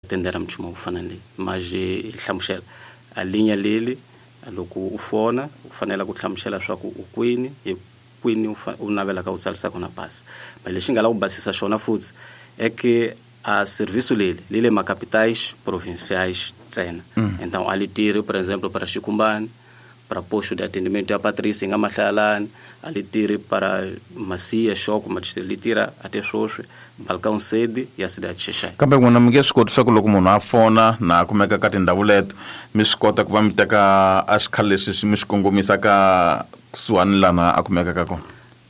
Tendera nchumu wa ku fana ni leyi. Mas hi hlamusela a linha leli loko u fona u fanele ku hlamusela swa ku u kwini hi kwini u navelaka u tsarisa kona pasi. Mas lexi nga la ku basisa xona futhi é que a serviço leli li le macapitais provinciais ntsena. Então a li tirhi, por exemplo, para Xikumbani, para posto de atendimento ya Patrícia nga Mahlalani, a li tirhi para Macia, Xoko, madistrito li tirha até swoswi Balcão Sede ya cidade de Xexai. Kambe n'wina mi nge swi koti swa ku loko munhu a fona na a kumeka ka tindhawu leto mi swi kota ku va mi teka a xikhale lexi mi xi kongomisa ka kusuhani lana a kumeka ka kona?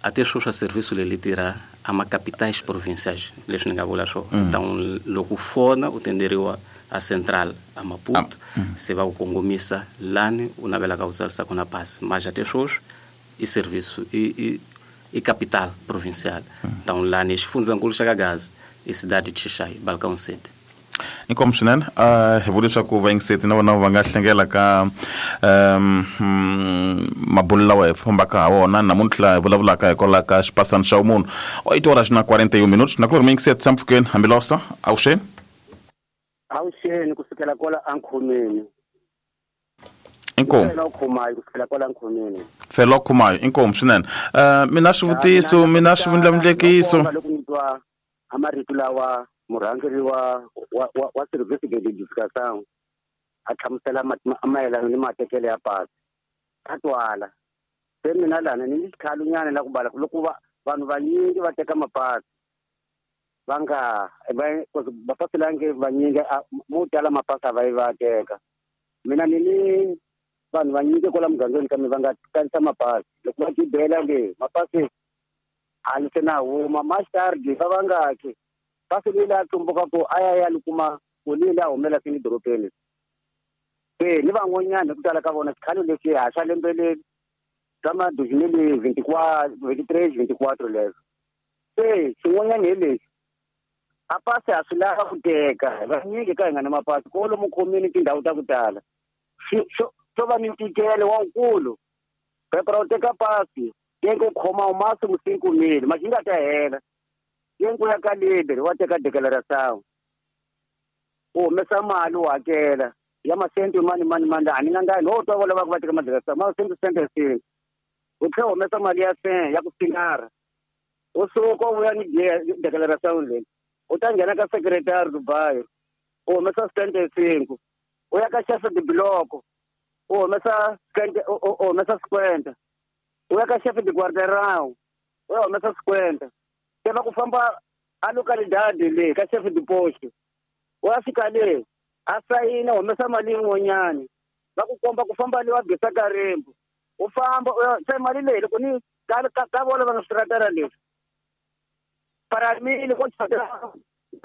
Até swoswi a serviço leri li tirha a macapitais provinciais, leswi ni nga vula swona. Então loko u fona u tenderiwa a central a Maputo, se va ku kongomisa lani u navelaka ku tsarisa kona pasi. Mas até swoswi i serviço i capital provincial. Então lani xifundzankulu xa ka Gaza i cidade de Xexai, Balcão Sede. Inkomu swinene. Hi vula leswaku vayingiseti na vona va nga hlengela ka um mabulo lawa hi fambaka ha wona namuntlha hi vulavulaka hikwalaho ka xipasani xa vumunhu. 8 horas na 41 minutos nakulorhi muyingiseti tshama mpfhukeni hambilosa avuxeni. Avuxeni kusukela kwala ankhomeni. Inkomu. Fela Khumayo kusukela kwala nkhomeni. Fela Khumayo, inkomu swinene. Mina swivutiso, mina swivundlamundlekiso. Loko ni twa a marito lawa murhangeri wa service de l'éducation a hlamusela mayelana ni matekelo ya pasi. A twala. Se mina lana ni ni xikhalunyana la ku bala loko vanhu vanyingi va teka mapasi va nga va mapasi lange vanyingi mo tala mapasi a va yi va teka. Mina ni ni vanhu vanyingi kwala mugangeni kambe va nga kanisa mapasi loko va gibela le mapasi a ni se na huma mastardi va va nga ki pasi leyi la tsumbuka ku a ya ya ni kuma ku leyi la humela sini dorobeni. Se ni van'wanyana hi ku tala ka vona xikhale lexi ha xa lembe leri ka ma deux mille vingt-quatre, vingt-trois, vingt-quatre leswo. Se xin'wanyana hi lexi a pasi a swi lava ku teka vanyingi ka hi nga na mapasi ko lomu khomini tindhawu ta ku tala swo va ni ntikelo wa wukulu. Phepha ra ku teka pasi tenke u khoma u máximo cinco mil mas yi nga ta hela tenke u ya ka leader wa teka declaração u humesa mali u hakela ya masente mani mani mani a ni nga ngani ho twa vo lava ku va teka madeclaração ma sente sente sente u tlhela u humesa mali ya sen ya ku sinara u suka u vuya ni declaração leyi u ta nghena ka secretary Dubai u humesa sente cinco u ya ka chef de bloco u humesa sente u humesa cinquenta u ya ka chef de quarteirão u ya humesa cinquenta se va ku famba a localidade le ka chef de poste u ya fika le a sayina humesa mali yin'wanyani va ku komba ku famba le wa bisa karimbu u famba u ya se mali leyi loko ni ka vona va nga swiratara leswi para mili ko chata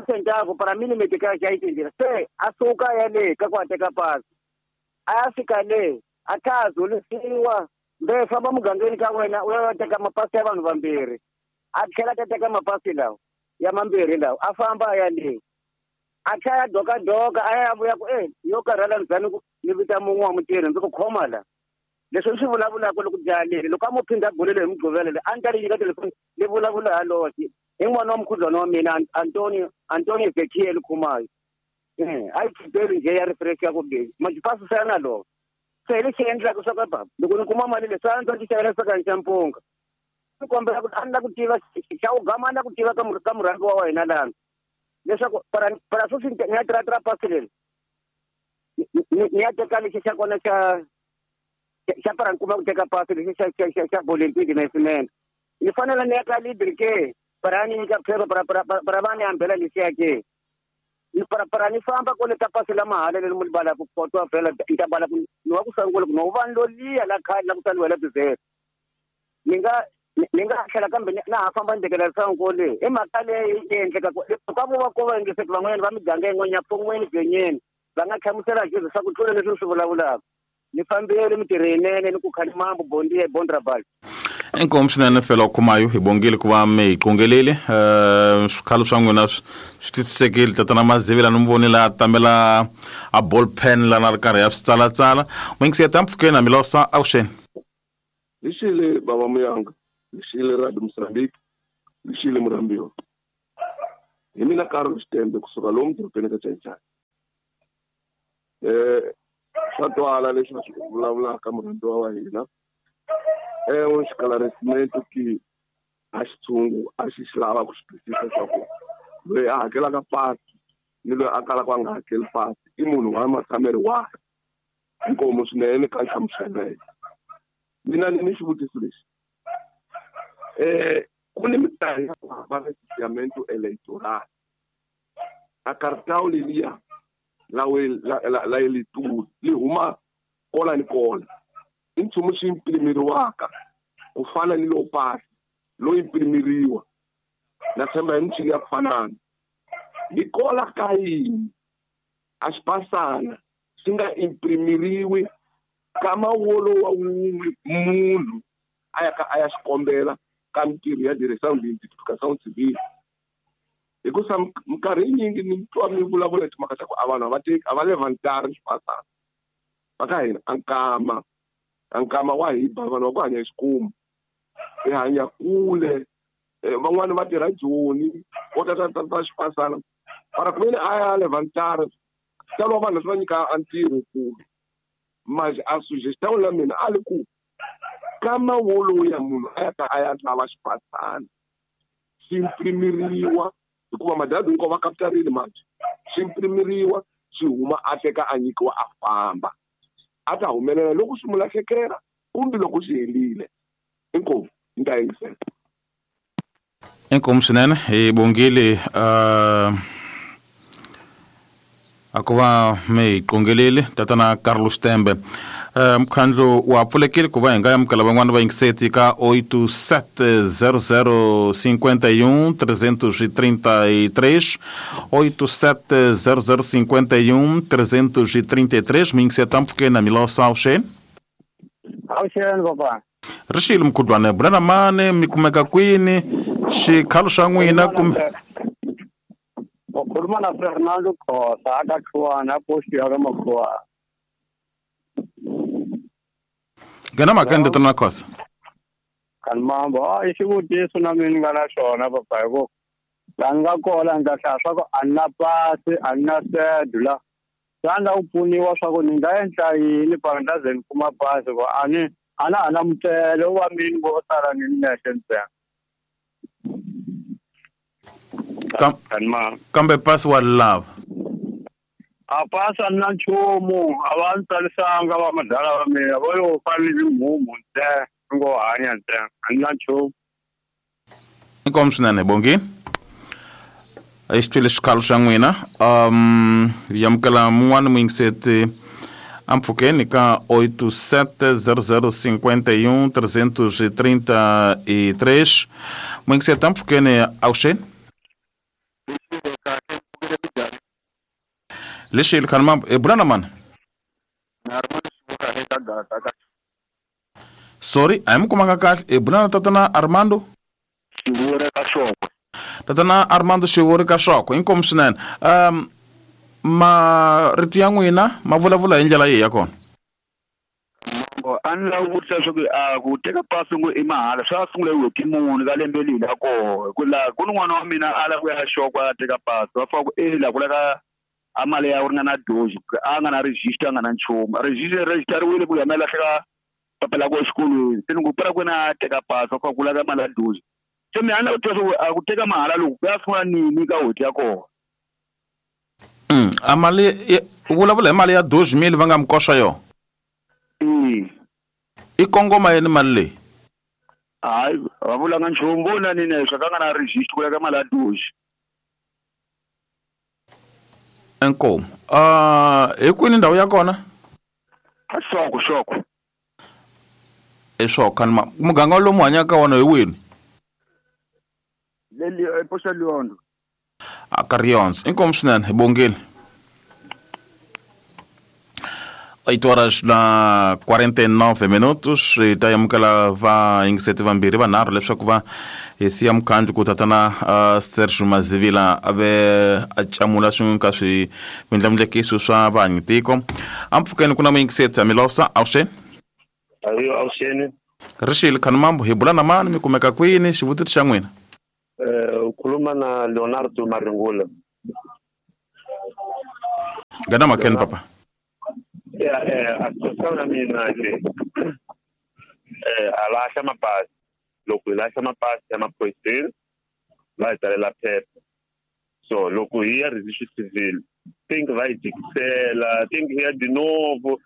centavo para mili metika xa yi se a suka ya le ka ku a teka pasi a ya fika le a kha a zulisiwa mbe famba mugangeni ka wena u ya teka mapasi ya vanhu vambirhi a tlhela ta teka mapasi lawa ya mambirhi lawa a famba a ya le a tlhela ya dokadoka a ya vuya ku yo karhala ndzani ni vita mun'we wa mutirhi ndzi ku khoma la leswi ni swi vulavulaka loko jaha leri loko a mo phindha bulelo hi mugqivela leyi a ni ta ri nyika telefoni ni vulavula ha loxe i n'wana wa mukhuhlwana wa mina Antonio Ezekiel Khumayo a yi khipeli njhe ya refresh ya ku busy majipasi na lona se hi lexi endlaka swa ka baba loko ni kuma mali leswi a ndzi ti xavela sakani xa mpunga ni kombela ku a ni la ku tiva xa u gama a ni la ku tiva ka murhangi wa hina lana leswaku para sweswi ni ya tirha pasi leri ni ya teka lexi xa kona xa para ni kuma ku teka pasi lexi xa boletin de nascimento ni fanele ni ya ka libre ke para ni nyika phepha para va ni hambela lexiya ke para ni famba kole ka pasi la mahala leri mu balaka kotwa vhela ni ta bala ku ni wa ku sungula ku no va ni lo liya la khale la ku tsaliwa la bizele ni nga tlhela kambe na ha famba ni tekela sangu le i mhaka leyi yi endleka ka vo va ko va yingiseki van'wanyana va miganga yin'wanyana pfon'weni byenyeni va nga hlamusela jesu swa ku tlula leswi ni swi vulavulaka ni fambile mintirho yinene ni ku khalimambu bondiye bondrabal. Inkomu swinene Fela Khumayo hi bongile ku va mi hi qongelile. Swikhalo swa n'wina swi twisisekile tatana Mazivela ni mi vonile a tamela a ball pen lana ri karhi ya swi tsalatsala. N'wingiseta mpfhukeni hambilosa avuxeni. Lixile baba Muyanga, lixile Radio Mozambique, lixile Murhambiwa. Hi mina Carol Xitembe kusuka lomu dorobeni ka Chaichai. Swa twala leswi va swi vulavulaka murhandziwa wa hina. Esclarecimento que a xitshungu a xi xi lava ku swi twisisa swa ku loyi a hakelaka pasi ni loyi a kalaka a nga hakeli pasi i munhu wa matshamelo wahi. Inkomu swinene ka nhlamuselo leyi. Mina ni ni xivutiso lexi. Ku ni minkarhi ya ku hambana registeramento eleitoral. A cartão leliya la la la eleitor li huma kola ni kola. I nchumu xi imprimiriwaka ku fana ni lowu pasi lowu imprimiriwa. Na tshemba hi michini ya ku fanana. Hi kola ka yini a xipasana xi nga imprimiriwi ka mawolo wa wun'we munhu a ya ka a ya xikombela ka mintirho ya direção de identificação civil. Hikusa minkarhi yinyingi ni twa mi vulavula hi timhaka ta ku a vanhu a va teki a va levantari xipasana. Va ka hina a nkama wa hi ba vanhu va ku hanya hi xikumu. Hi hanya kule van'wani va tirha Joni vo ta ta xipasana. Mara ku veni a ya levantari talo vanhu leswi va nyika a ntirho kulu. Mas a sugestão la mina a li ku kama wolowo ya munhu a ya ta a ya lava xipasana xi imprimiriwa hikuva madadi hinkwavo va kapitarile manje xi imprimiriwa xi huma a teka a nyikiwa a famba a ta humelela loko swi mu lahlekela kumbe loko swi helile. Inkomu ni ta yingisela. Inkomu swinene hi bongile a ku va mi hi qongeleli tatana Carlos Tembe. Mukhandlu wa pfulekile ku va hi nga amukela van'wana va yingiseti ka 8700 51 333 8700 51 333 mi yingiseta mpfukeni na Milosa avuxeni. Avuxeni papa. Rixile mkhudlwane bulana mani mi kumeka kwini xikhalo xa n'wina kumbe u khuluma na Fernando Khosa aka Khuwana post ya ka Makhuwana. Ngena makende tana Khosa. Kan mambo i xivutiso na mina nga na xona papa hi ku la nga kola nga hlaya swa ku a na pasi a na cédula. Xana u pfuniwa swa ku ni nga endla yini para ni ta ze ni kuma pasi ku a ni a na ha na mutele wa mini vo sala ni nexe ntsena. Kambe pasi wa lava. A pasi a na nchumu a va ni tsalisanga va madala va mina vo yo fanele mumu ntsena ngo hanya ntsena a ni na nchumu. Inkomu swinene Bongi. A xi twile xikhalo xa n'wina. Hi amukela mun'wana muyingiseti ampfhukeni ka 8700 51 333. Muyingiseti ampfhukeni avuxeni. Lexi khani mambo e bulana mani. Sorry, a hi mi kumanga kahle. E bulana tatana Armando. Xivuri ka Xokwe. Tatana Armando Xivuri ka Xokwe. Inkomu swinene. Marito ya n'wina ma vulavula hi ndlela yihi ya kona? Mambo a ni lava ku vutisa leswaku a ku teka pasi ngo i mahala swa sungula hi n'hweti muni ka lembe leyi la koho hi ku laha ku ni n'wana wa mina a lava ku ya Xokwe a teka pasi va fika ku e la ku laka a mali ya ku ringana doji a nga na register a nga na nchumu registeriwile ku ya ma lahleka papila ku exikolweni se ni ku pera kwena a teka pasi va fika ku laka mali ya doji se mi a ni lava ku tiva swa ku a ku teka mahala loku ku ya sungula nini ka n'hweti ya kona. A mali u vulavula hi mali ya doji mili va nga mi koxa yona? I kongoma yini mali leyi? Hayi va vulanga nchumu vo na nini leswi ka nga na register ku laka mali ya doji. Inkomu. Hi kwini ndhawu ya kona? A Xokwe, Xokwe. I Xokwe khani muganga lomu hanyaka ka wona hi wini? Le ePoxa Liondo. A ka Riondzo. Inkomu swinene hi bongile. 8 horas na 49 minutos hi ta amukela vayingiseti vambirhi vanharhu leswaku va hi siya mukhandlu ku tatana Sergio Mazivila a ve a camula swin'we ka swi mindlamundlekiso swa vahanyi tiko. Ampfhukeni ku na muyingiseti Amilosa avuxeni. Ayo avuxeni. Rixile khani mambo hi bula na mani mi kumeka kwini xivutiso xa n'wina? U khuluma na Leonardo Maringula. Ngena makeni papa. A situação na mina le a lahla mapasi. Loko hi lahla mapasi ya maphoyiseni va hi tsalela phepha. So loko hi ya registry civil think va hi jikisela, think hi ya de novo,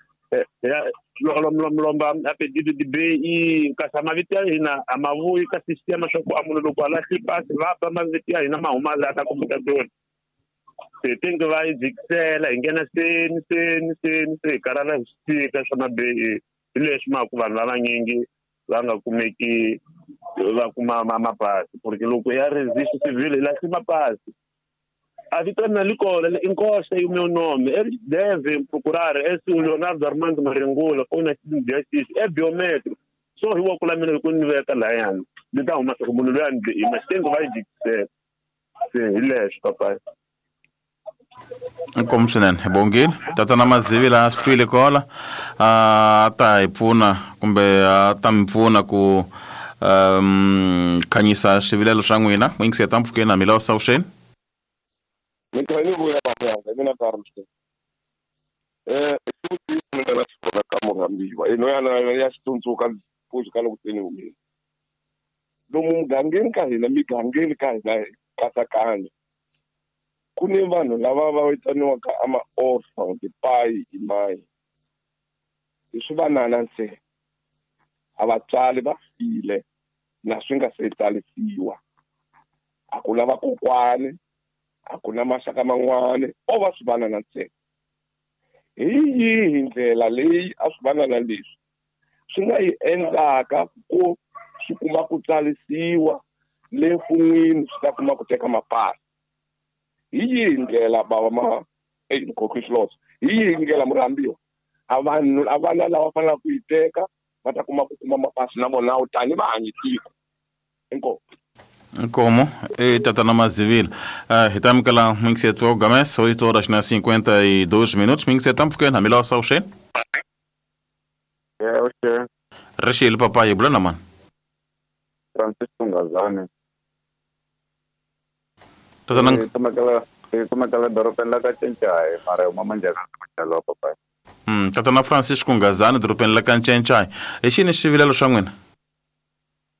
lomba a pedido de BI, kasi mavito ya hina a ma vuyi ka sistema swa ku a munhu loko a lahli pasi va ba mavito ya hina ma huma laha ka computador. Se think va hi jikisela hi nghena seni seni seni se hi karhala hi swi tika swa ma BI. Hi leswi mhaka vanhu lava vanyingi va nga kumeki va kuma mapasi porque loko ya registry civil hi lahli mapasi. A vito na likola inkosa e o meu nome. Eles devem procurar esse o Leonardo Armando Marengula ou na justiça é biométrico. Só hi wa kula mina loko ni veka layani ni ta huma swa munhu loyi a ni mas tengo vai dizer se hi leswi papai. Inkomu swinene hi bongile tatana Mazivi laha swi twile kola a ta hi pfuna kumbe a ta mi pfuna ku khanyisa swivilelo swa n'wina. N'wi yingiseta mpfhukeni na mila sawuxeni. Ni kha ni vuya baba mina Carlos. Xivutiso ni nga na xona ka murhambiwa ino yana ya xitsundzuka pfuxi ka loko se ni humile. Lomu mugangeni ka hina migangeni ka hina katsakanya ku ni vanhu lava va vitaniwaka ama-orphan tipayi imayi hi swi vanana ntsena a vatswari va file na swi nga se tsarisiwa a ku na vakokwani a ku na maxaka man'wani o va swi vanana ntsena. Hi yihi ndlela leyi a swi vanana leswi swi nga yi endlaka ku swi kuma ku tsarisiwa le mfun'wini swi ta kuma ku teka mapasi? Hi yihi ndlela bava ma hi yihi ndlela murhambiwa a vanhu a vana lava fanelaka ku yi teka va ta kuma ku kuma mapasi na vona tani va hanyi tiko? Inkomu. Inkomu e tatana Mazivila. Hi ta amukela muyingiseti wa Games 8 horas na 52 minutos. Muyingiseti mpfhukeni hambi lawa sawuxeni. Yebo. Rixile papa hi bula na mani? Francisco Ngazane. Tatana kumekela dorobeni la ka Ncencai mara huma manjhaka papa. Tatana Francisco Ngazane dorobeni la ka Ncencai. Hi xini xivilelo xa n'wina?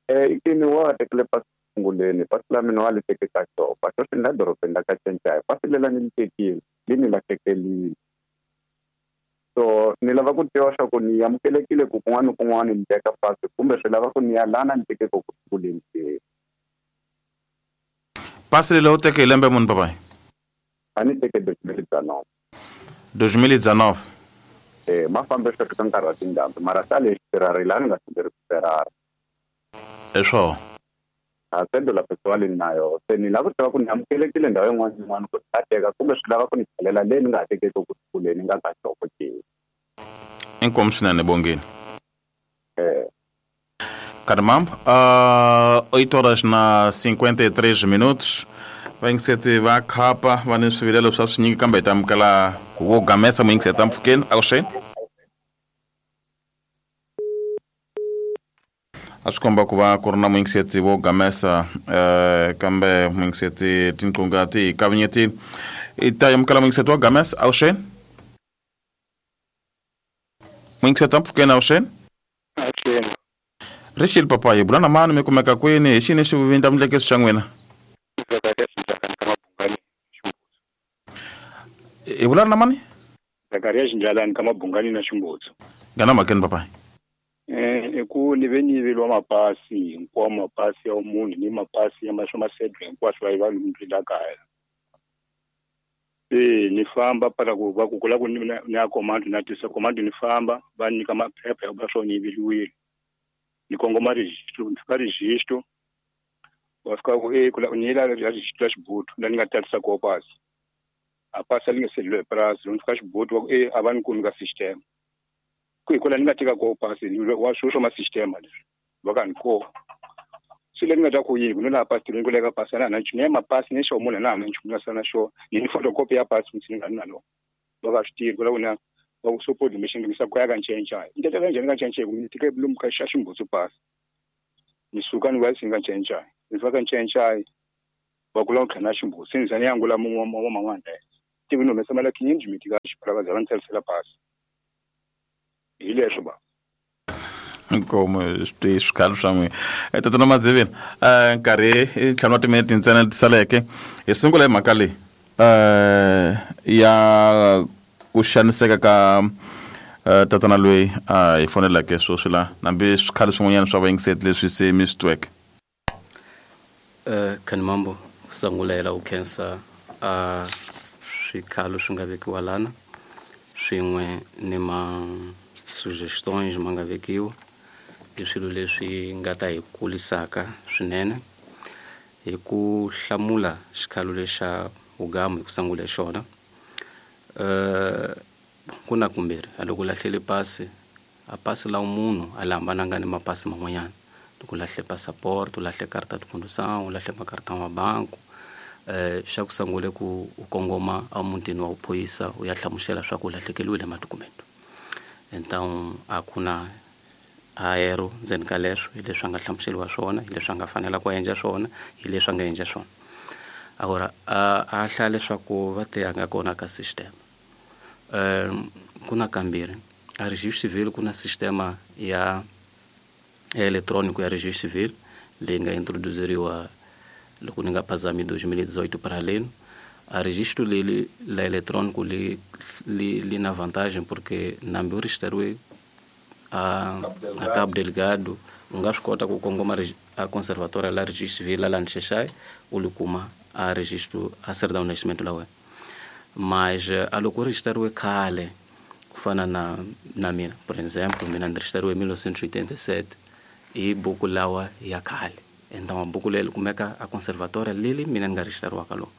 Ikini wa tekile pasi sunguleni pasi la mina wa li teke ka xopa sweswi ni la dorobeni la ka Ncencai pasi lela ni li tekile li ni lahlekelile. So ni lava ku tiva swa ku ni amukelekile ku kun'wana ni kun'wana ni teka pasi kumbe swi lava ku ni ya lana ni teke ku sunguleni ke. Pasi leri u teke hi lembe muni papai? A ni teke 2019. 2019. Ma fambe sweswi ka nkarhi wa tindhambi mara sa lexi Ferrari laha ni nga sunguri ku Ferrari. Hi swona. A cédula pessoal ni nayo se ni lava ku tiva ku ni amukelekile ndhawu yin'wana ni yin'wana ku ta teka kumbe swi lava ku ni tlhelela leyi ni nga ha tekeki ku sunguleni ni nga ka xoko ke. Inkomu swinene bongeni. Caramba, 8 horas na 53 minutos. Vayingiseti va khapa va ni swivilelo swa swinyingi kambe hi ta amukela wo gamesa muyingiseti mpfhukeni avuxeni. A swi komba ku va ku ri na muyingiseti wo gamesa kambe muyingiseti tinqunga ti hi kavanyetile. I ta amukela muyingiseti wa gamesa avuxeni. Muyingiseti mpfhukeni avuxeni. Avuxeni. Rixile papa hi bula na mani mi kumeka kwini hi xini xivindlamundlekeso xa n'wina? Hi bula na mani? Zakaria Xindlalani ka Mabungani na Ximbutsu. Ngana mhakeni papai. I ku ni ve ni yiveriwa mapasi hinkwawo mapasi ya munhu ni mapasi ya swa masedwa hinkwaswo va yiva lomu la kaya. Ni famba para ku va ku kula ku ni ya command na tisa command ni famba va nyika maphepha ya va swo ni yiveriwile. Ni kongoma registro ni fika registro va fika ku kula ni la registro ya Xibutu la ni nga tatisa koho pasi. A pasi li nga se dliwa hi purasi loko ni fika Xibutu va ku a va ni kumi ka system. Ku hi kwala ni nga teka koho pasi wa swilo swa ma system leswi va ka ni koho. Se le ni nga ta ku yini ku no laha pasi ni ku leka pasi a na ha na nchumu ya mapasi ni xo munhu a na ha na nchumu na sala na xo ni photocopy ya pasi ni nga ni na lona. Va ka swi tivi ku la ku na va ku support mission ni sa ku ya ka Ncencai. Ni teka njhani ka Ncencai ku ni teke lomu ka xa Ximbutsu pasi. Ni suka ni vuya ka Ncencai. Ni fika ka Ncencai va ku la ku tlhela na Ximbutsu. Se ni za ni ya ngula mun'we wa man'wana la. Tivi ni humesa mali ya khinyinji mi tika xiphalavaza va ni tsarisela pasi. Hi leswo ba. Nkomo swi swikhalo swa n'wina. Tatana Madzivini, nkarhi i 5 wa timinete ntsena leti saleke. Hi sungula hi mhaka leyi ya ku xaniseka ka tatana loyi a hi foneleke sweswi la, nambi swikhalo swin'wanyana swa vayingiseti leswi se mi swi tweke. Khanimambo, ku sungula hi la ku khensa a swikhalo swi nga vekiwa lana swin'we ni ma suggestions ma nga vekiwa, i swilo leswi nga ta hi kulisaka swinene. Hi ku hlamula xikhalo lexa vugamu hi ku sungula hi xona, ku na kumbirhi a loko u lahlele pasi, a pasi la munhu a li hambananga ni mapasi man'wanyana. Loko u lahle passport, u lahle carta de condução, u lahle macartão wa banku, xa ku sungula ku u kongoma emutini wa vuphorisa u ya hlamusela swa ku u lahlekeriwile madokumento. Então a ku na aero ndzeni ka leswo, hi leswi a nga hlamuseriwa swona, hi leswi a nga fanela ku endla swona, hi leswi a nga endla swona. Agora a hlaya leswaku va te a nga kona ka system. Ku na kambirhi, a registro civil ku na sistema ya eletrónico ya registro civil leyi nga introduceriwa loko ni nga phazami 2018 para aleno. A registro leli la eletrónico li na vantagem porque nambi u registrariwe a Cabo Delgado, u nga swi kota ku kongoma a conservatória la registro civil la Nxexai, u li kuma a registro a certidão de nascimento la wena. Mas a loko u registrariwe khale ku fana na mina, por exemplo, mina ni registrariwe hi 1987 hi buku lawa ya khale. Então buku leri kumeka a conservatória leli mina ni nga registrariwa ka lona.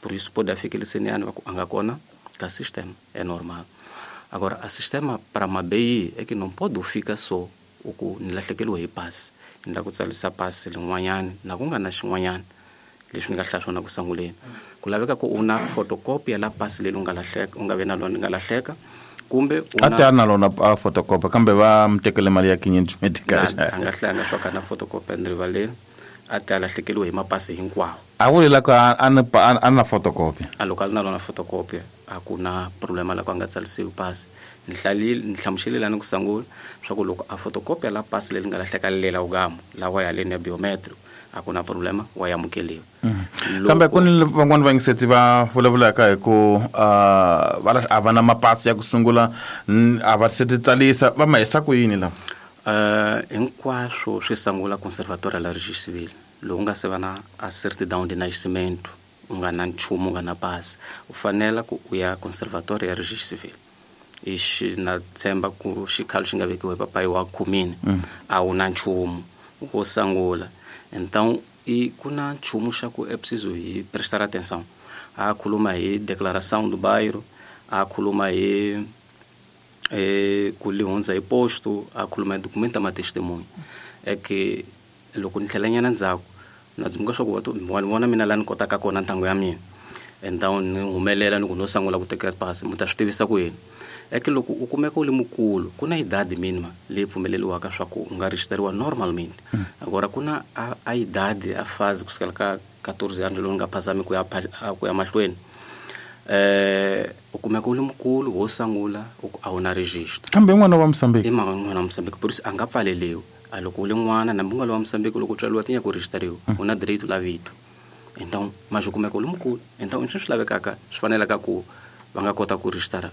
Por isso pode ficar va ku a nga kona ka sistema, é normal. Agora a sistema para mabeyi é que não pode ficar só u ku ni lahlekeriwe hi pasi, ni lava ku tsarisa pasi lin'wanyana na ku nga na xin'wanyana leswi ni nga hlaya swona ku sunguleni. Ku laveka ku u na photocopy ya la pasi leri u nga lahleka, u nga ve na lona nga lahleka, kumbe u A ti a na lona a photocopy, kambe va mi tekele mali ya 500 medical. A nga hlayanga swa ka na photocopy rivaleni, a ti a lahlekeriwe hi mapasi hinkwawo. A vuli la ku a na photocopy. A loko a ri na lona photocopy a ku na problema la ku a nga tsarisiwi pasi. Ni hlamuselile ni ku sungula swa ku loko a photocopy la pasi leri nga lahleka lela ugamu lawa ya leni ya biometric, a ku na problema, wa amukeliwa. Kambe ku ni van'wani vayingiseti va vulavulaka hi ku va a va na mapasi ya ku sungula, a va se ti tsalisa, va ma hisa ku yini lava? Hinkwaswo swi sungula conservatória la registro civil. Loko u nga se va na a certidão de nascimento, u nga na nchumu, u nga na pasi, u fanela ku u ya conservatória ya registro civil. Ixi na tshemba ku xikhalo xi nga vekiwa hi papayi wa khumini, a wu na nchumu wo sungula. Então i ku na nchumu xa ku é preciso hi prestar atenção. A khuluma hi declaração do bairro, a khuluma hi ku li hundza hi posto, a khuluma hi documento ma testemunho. É que loko ni tlhela nyana ndzhaku na dzumbuka swa ku va vona mina la ni kotaka kona ntangu ya mina. Então ni humelela ni ku no sungula ku teka pasi, mi ta swi tivisa ku yini. É que loko u kumeka u li mukulu, ku na idade mínima leyi pfumeleriwaka swa ku u nga registrariwa normalmente. Agora ku na a idade a fase kusukela ka 14 anos lowu nga phazami ku ya mahlweni. U kumeka u li mukulu wo sungula a wu na registro. Kambe n'wana wa Mozambique. I n'wana wa Mozambique, por isso a nga pfaleliwi. A loko u li n'wana nambi u nga li wa Mozambique, loko u tswariwa ti nyaka u registrariwa, u na direito la vito. Então mas u kumeka u li mukulu. Então leswi swi lavekaka swi fanelaka ku va nga kota ku registara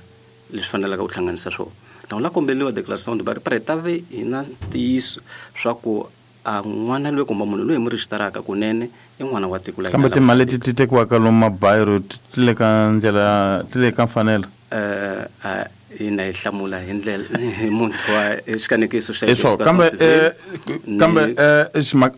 leswi fanelaka ku hlanganisa swona. Então la komberiwa declaração de bairro para ta ve hi na ntiyiso swa ku a n'wana loyi kumbe munhu loyi hi mu registraka kunene i n'wana wa tiko la hina. Kambe timali leti ti tekiwaka lomu mabayiro ti le ka ndlela, ti le ka mfanelo? Ina hi hlamula hi ndlela hi muntu wa xikanekiso xa Eswo, kambe kambe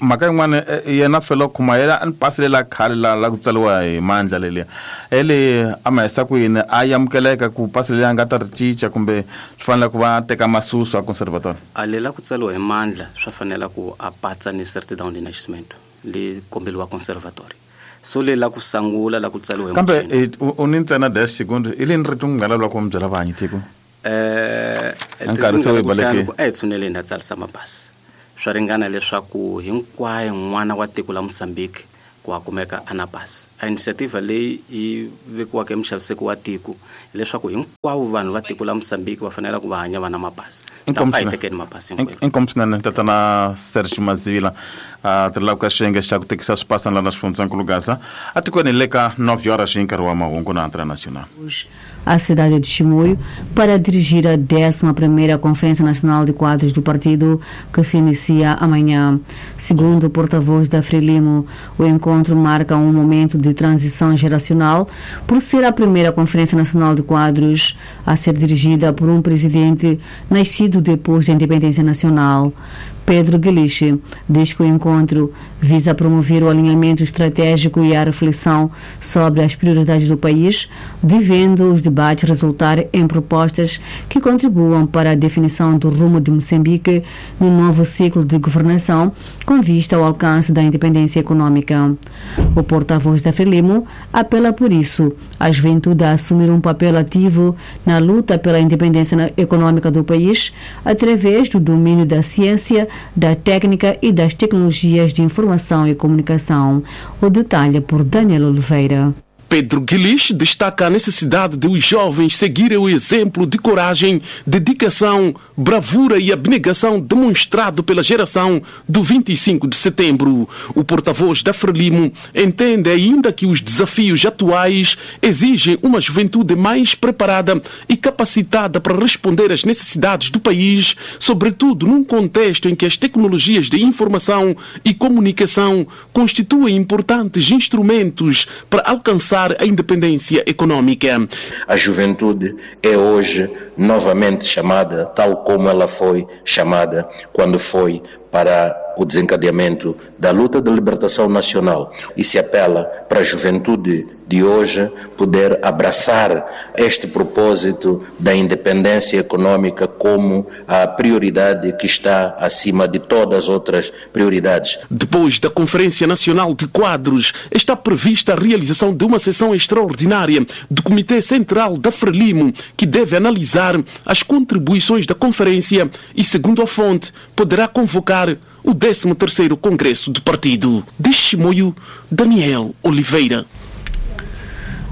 mhaka yin'wana yena fela khuma yena a ni pasi lela khale la ku tsariwa hi mandla leliya ele a ma hisa ku yini a amukeleka ku pasi leliya a nga ta ri cinca kumbe swi fanele ku va teka masusu a conservatório? A lela ku tsariwa hi mandla swa fanela ku a patsa ni certidão de nascimento le kombeliwa conservatório. So le la ku sangula la ku tsariwa hi kambe u ni ntsena 10 secondo i leni rito nga lava ku mi byela vanhu tiko? Nkarhi se wu balekile. A hi tshuneleni ha tsarisa mapasi. Swa ringana leswaku hinkwayo n'wana wa tiko la Mozambique ku a kumeka a na pasi. A initiative leyi yi vekiwaka emuxaviseki wa tiko leswaku hinkwavo vanhu va tiko la Mozambique va fanele ku va hanya va na mapasi. A hi tekeni mapasi hinkwenu. Inkomu swinene tatana Serge Mazivila a tirhelaka ka xiyenge xa ku tekisa swipasana lana xifundzankulu Gaza atikweni le ka 9 horas hi nkarhi wa mahungu na Antena Nacional. A cidade de Chimoio para dirigir a 11ª Conferência Nacional de Quadros do Partido, que se inicia amanhã. Segundo o porta-voz da Frelimo, o encontro marca um momento de transição geracional por ser a primeira Conferência Nacional de Quadros a ser dirigida por um presidente nascido depois da independência nacional. Pedro Guiliche diz que o encontro visa promover o alinhamento estratégico e a reflexão sobre as prioridades do país, devendo os debates resultar em propostas que contribuam para a definição do rumo de Moçambique no novo ciclo de governação, com vista ao alcance da independência econômica. O porta-voz da Frelimo apela, por isso, à juventude a assumir um papel ativo na luta pela independência econômica do país, através do domínio da ciência, da técnica e das tecnologias de informação e comunicação. O detalhe por Daniel Oliveira. Pedro Guiliche destaca a necessidade de os jovens seguirem o exemplo de coragem, dedicação, bravura e abnegação demonstrado pela geração do 25 de setembro. O porta-voz da Frelimo entende ainda que os desafios atuais exigem uma juventude mais preparada e capacitada para responder às necessidades do país, sobretudo num contexto em que as tecnologias de informação e comunicação constituem importantes instrumentos para alcançar a independência econômica. A juventude é hoje novamente chamada, tal como ela foi chamada quando foi para o desencadeamento da luta de libertação nacional, e se apela para a juventude de hoje poder abraçar este propósito da independência econômica como a prioridade que está acima de todas as outras prioridades. Depois da Conferência Nacional de Quadros, está prevista a realização de uma sessão extraordinária do Comitê Central da Frelimo, que deve analisar as contribuições da conferência e, segundo a fonte, poderá convocar o 13º Congresso do Partido. De Chimoio, Daniel Oliveira.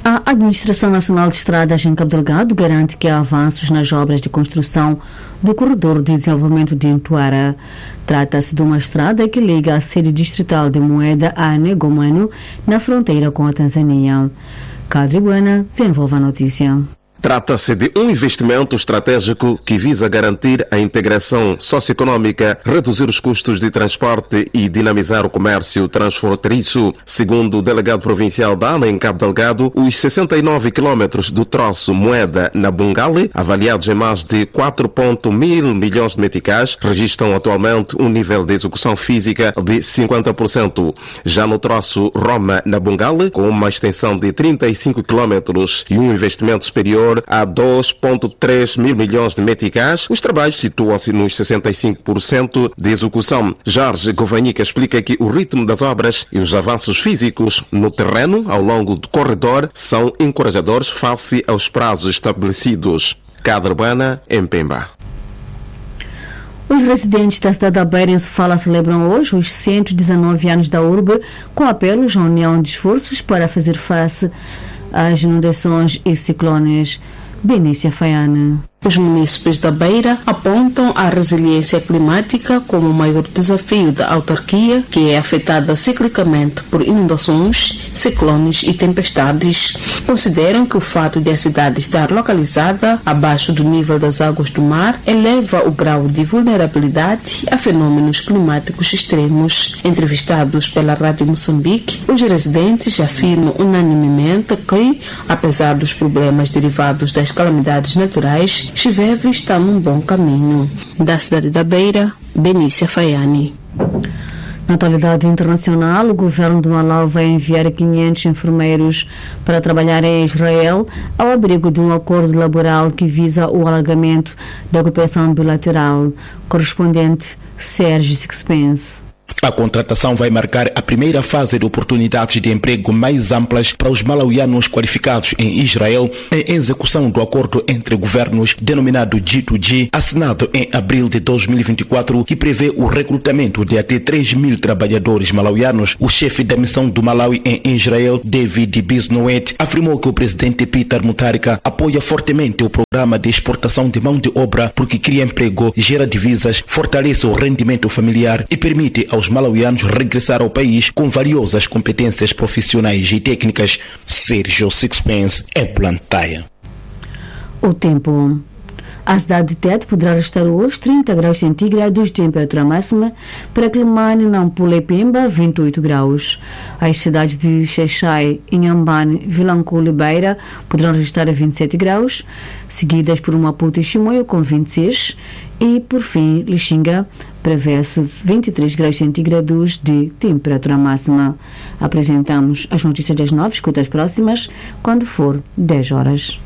A Administração Nacional de Estradas em Cabo Delgado garante que há avanços nas obras de construção do Corredor de Desenvolvimento de Entuara. Trata-se de uma estrada que liga a sede distrital de Moeda a Negomano, na fronteira com a Tanzânia. Cadri Buena desenvolve a notícia. Trata-se de um investimento estratégico que visa garantir a integração socioeconômica, reduzir os custos de transporte e dinamizar o comércio transfronteiriço. Segundo o delegado provincial da ANA em Cabo Delgado, os 69 quilômetros do troço Moeda na Bungale, avaliados em mais de 4,1 mil milhões de meticais, registram atualmente um nível de execução física de 50%. Já no troço Roma na Bungale, com uma extensão de 35 quilômetros e um investimento superior a 2,3 mil milhões de meticais, os trabalhos situam-se nos 65% de execução. Jorge Govanhica explica que o ritmo das obras e os avanços físicos no terreno ao longo do corredor são encorajadores face aos prazos estabelecidos. Cadrbana, em Pemba. Os residentes da cidade da Beira, em Sofala, celebram hoje os 119 anos da urbe, com apelos à união de esforços para fazer face às inundações e ciclones. Benícia Faiana. Os munícipes da Beira apontam a resiliência climática como o maior desafio da autarquia, que é afetada ciclicamente por inundações, ciclones e tempestades. Consideram que o fato de a cidade estar localizada abaixo do nível das águas do mar eleva o grau de vulnerabilidade a fenômenos climáticos extremos. Entrevistados pela Rádio Moçambique, os residentes afirmam unanimemente que, apesar dos problemas derivados das calamidades naturais, Chiveve está num bom caminho. Da cidade da Beira, Benícia Faiani. Na atualidade internacional, o governo do Malawi vai enviar 500 enfermeiros para trabalhar em Israel ao abrigo de um acordo laboral que visa o alargamento da cooperação bilateral. Correspondente Sérgio Sixpence. A contratação vai marcar a primeira fase de oportunidades de emprego mais amplas para os malauianos qualificados em Israel, em execução do acordo entre governos denominado G2G, assinado em abril de 2024, que prevê o recrutamento de até 3 mil trabalhadores malauianos. O chefe da missão do Malawi em Israel, David Bisnoet, afirmou que o presidente Peter Mutharika apoia fortemente o programa de exportação de mão de obra porque cria emprego, gera divisas, fortalece o rendimento familiar e permite aos malauianos regressar ao país com valiosas competências profissionais e técnicas. Sérgio Sixpence, é Blantyre. O tempo. A cidade de Tete poderá registrar hoje 30 graus centígrados de temperatura máxima, para Quelimane, Nampula e Pemba, 28 graus. As cidades de Xaixai, Inhambane, Vilanculo e Beira poderão registrar 27 graus, seguidas por Maputo e Chimoio com 26 e, por fim, Lixinga prevê-se 23 graus centígrados de temperatura máxima. Apresentamos as notícias das 9, escuta as próximas, quando for 10 horas.